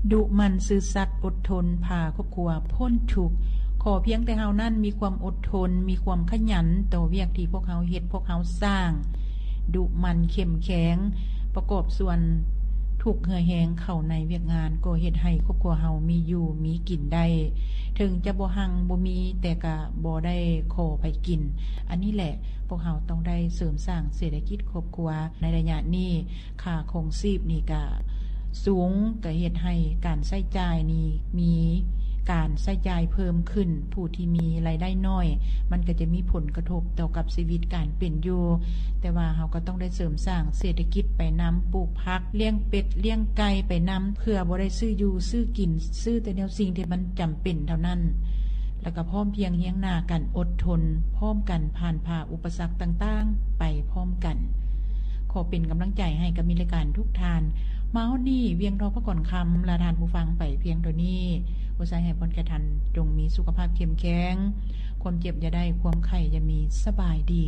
ດຸໝັ່ນ, ຊື່ສັດ, ອົດທົນ, ພາຄອບຄົວພົ້ນທຸກ. ຂໍພຽງແຕ່ເຮົານັ້ນມີຄວາມອົດທົນ, ມີຄວາມຂະຫຍັນຕໍ່ວຽກທີ່ພວກເຮົາເຮັດ, ພວກເຮົາສ້າງ, ດຸໝັ່ນ, ເຂັ້ມແຂງ, ປະກອບສ່ວນທຸກເຫື່ອແຮງເຂົ້າໃນວຽກງານ, ກໍເຮັດໃຫ້ຄອບຄົວເຮົາມີຢູ່ມີກິນໄດ້. ເຖິງຈະບໍ່ຮັ່ງບໍ່ມີ, ແຕ່ກະບໍ່ໄດ້ຂໍໃຜກິນ. ອັນນີ້ແຫຼະ, ພວກເຮົາຕ້ອງໄດ້ເສີມສ້າງເສດຖະກິດຄອບຄົວໃນໄລຍະນີ້. ຄ່າຄອງຊີບນີ້ກະສູງ, ກະເຮັດໃຫ້ການໃຊ້ຈ່າຍນີ້ມີການໃຊ້ຈ່າຍເພີ່ມຂຶ້ນ. ຜູ້ທີ່ມີລາຍໄດ້ໜ້ອຍ, ມັນກະຈະມີຜົນກະທົບຕໍ່ກັບຊີວິດການເປັນຢູ່. ແຕ່ວ່າເຮົາກະຕ້ອງໄດ້ເສີມສ້າງເສດຖະກິດໄປນຳ, ປູກຜັກ, ລ້ຽງເປັດ, ລ້ຽງໄກ່ໄປນຳ, ເພື່ອບໍ່ໄດ້ຊື້ຢູ່ຊື້ກິນ, ຊື້ແຕ່ແນວສິ່ງທີ່ມັນຈຳເປັນເທົ່ານັ້ນ. ແລ້ວກໍພ້ອມພຽງຮຽງໜ້າກັນ, ອົດທົນພ້ອມກັນ, ຜ່ານຜ່າອຸປະສັກຕ່າງໆໄປພ້ອມກັນ. ຂໍເປັນກຳລັງໃຈໃຫ້ກັບມິດລາຍການທຸກທ່ານ. ມາຮອດນີ້, ວຽງທອງພະກອນຄຳ ລາທ່ານຜູ້ຟັງໄປພຽງເທົ່ານີ້. ອວຍໄຊໃຫ້ພອນແກ່ທ່ານ, ຈົ່ງມີສຸຂະພາບເຂັ້ມແຂງ, ຄວາມເຈັບຢ່າໄດ້, ຄວາມໄຂ້ຢ່າມີ. ສະບາຍດີ.